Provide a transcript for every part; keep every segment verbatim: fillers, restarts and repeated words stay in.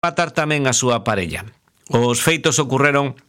matar tamén a súa parella. Os feitos ocorreron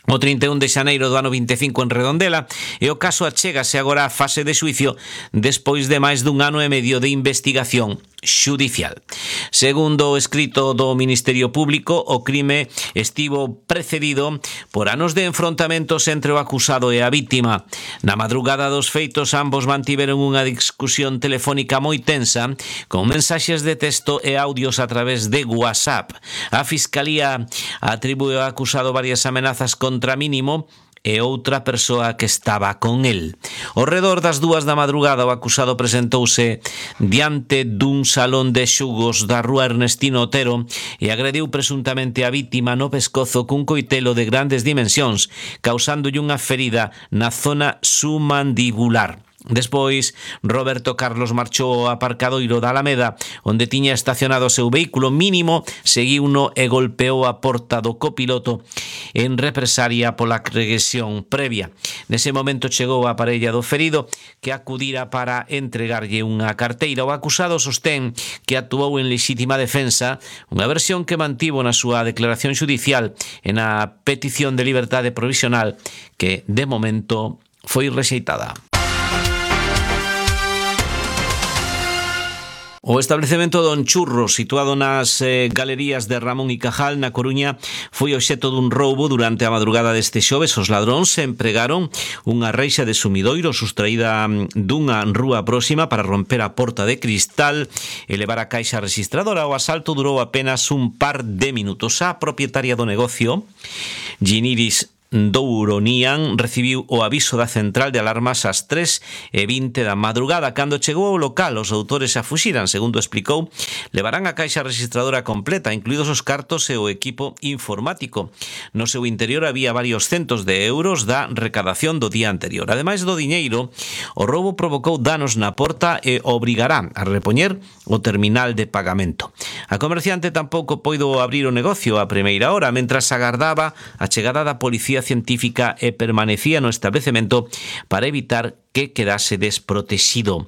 o trinta e un de xaneiro do ano vinte e cinco en Redondela e o caso achégase agora á fase de xuicio despois de máis dun ano e medio de investigación xudicial. Segundo o escrito do Ministerio Público, o crime estivo precedido por anos de enfrontamentos entre o acusado e a vítima. Na madrugada dos feitos, ambos mantiveron unha discusión telefónica moi tensa con mensaxes de texto e audios a través de WhatsApp. A Fiscalía atribúe ao acusado varias amenazas contra mínimo e outra persoa que estaba con el. Ao redor das dúas da madrugada, o acusado presentouse diante dun salón de xugos da rúa Ernestino Otero e agrediu presuntamente a vítima no pescozo cun coitelo de grandes dimensións, causándolle unha ferida na zona submandibular. Despois, Roberto Carlos marchou ao aparcadoiro da Alameda, onde tiña estacionado o seu vehículo mínimo, seguiuno e golpeou a porta do copiloto en represaria pola agresión previa. Nese momento chegou a parella do ferido, que acudira para entregarlle unha carteira. O acusado sostén que actuou en lexítima defensa, unha versión que mantivo na súa declaración xudicial e na petición de liberdade provisional, que de momento foi rexeitada. O establecemento Don Churros, situado nas eh, galerías de Ramón y Cajal, na Coruña, foi obxecto dun roubo durante a madrugada deste xoves. Os ladróns empregaron unha reixa de sumidoiro sustraída dunha rúa próxima para romper a porta de cristal e levar a caixa registradora. O asalto durou apenas un par de minutos. A propietaria do negocio, Giniris Douronian, recibiu o aviso da central de alarmas ás tres e vinte da madrugada. Cando chegou ao local, os autores xa fuxiran. Segundo explicou, levarán a caixa registradora completa, incluídos os cartos e o equipo informático. No seu interior había varios centos de euros da recadación do día anterior. Ademais do diñeiro, o roubo provocou danos na porta e obrigará a repoñer o terminal de pagamento. A comerciante tampouco poido abrir o negocio a primeira hora, mentras agardaba a chegada da policía científica e permanecía no establecemento para evitar que quedase desprotexido.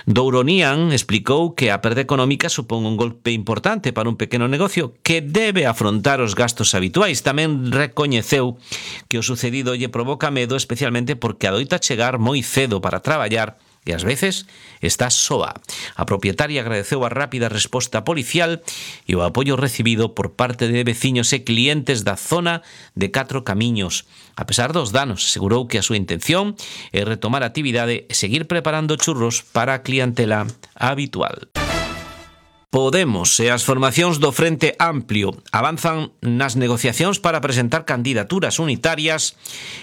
Douronian explicou que a perda económica supón un golpe importante para un pequeno negocio que debe afrontar os gastos habituais. Tamén recoñeceu que o sucedido lle provoca medo, especialmente porque adoita chegar moi cedo para traballar e ás veces está soa. A propietaria agradeceu a rápida resposta policial e o apoio recibido por parte de veciños e clientes da zona de Catro Camiños. A pesar dos danos, asegurou que a súa intención é retomar a actividade e seguir preparando churros para a clientela habitual. Podemos e as formacións do Frente Amplio avanzan nas negociacións para presentar candidaturas unitarias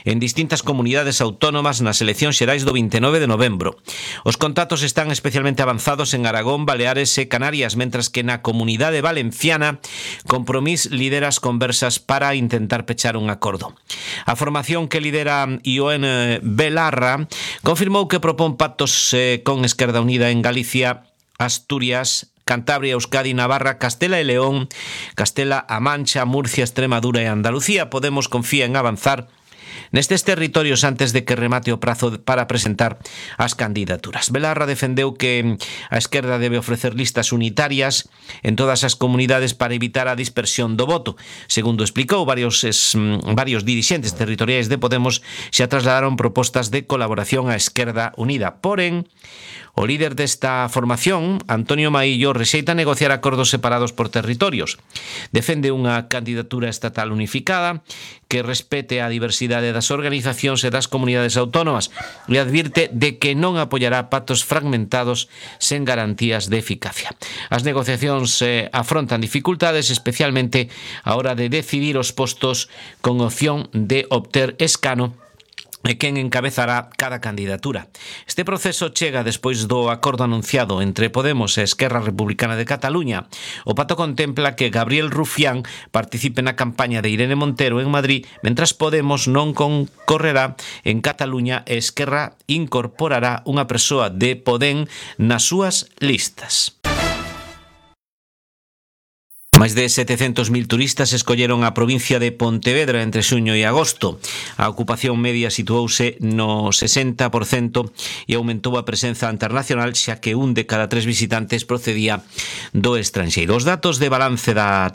en distintas comunidades autónomas nas eleccións xerais do vinte e nove de novembro. Os contactos están especialmente avanzados en Aragón, Baleares e Canarias, mentras que na comunidade valenciana Compromís lidera as conversas para intentar pechar un acordo. A formación que lidera Ioen Belarra confirmou que propón pactos eh, con Esquerda Unida en Galicia, Asturias, Cantabria, Euskadi, Navarra, Castela e León, Castela-A Mancha, Murcia, Extremadura e Andalucía. Podemos confía en avanzar nestes territorios antes de que remate o prazo para presentar as candidaturas. Belarra defendeu que a esquerda debe ofrecer listas unitarias en todas as comunidades para evitar a dispersión do voto. Segundo explicou, varios, es, varios dirixentes territoriais de Podemos xa trasladaron propostas de colaboración á Esquerda Unida. Porén, o líder desta formación, Antonio Maillo, rexeita negociar acordos separados por territorios. Defende unha candidatura estatal unificada que respete a diversidade das organizacións e das comunidades autónomas e advirte de que non apoiará pactos fragmentados sen garantías de eficacia. As negociacións eh, afrontan dificultades, especialmente a hora de decidir os postos con opción de obter escano e quen encabezará cada candidatura. Este proceso chega despois do acordo anunciado entre Podemos e Esquerra Republicana de Cataluña. O pacto contempla que Gabriel Rufián participe na campaña de Irene Montero en Madrid, mentras Podemos non concorrerá en Cataluña e Esquerra incorporará unha persoa de Podem nas súas listas. Máis de setecentos mil turistas escolleron a provincia de Pontevedra entre xuño e agosto. A ocupación media situouse no sesenta por cento e aumentou a presenza internacional, xa que un de cada tres visitantes procedía do estranxeiro. Os datos de balance da temporada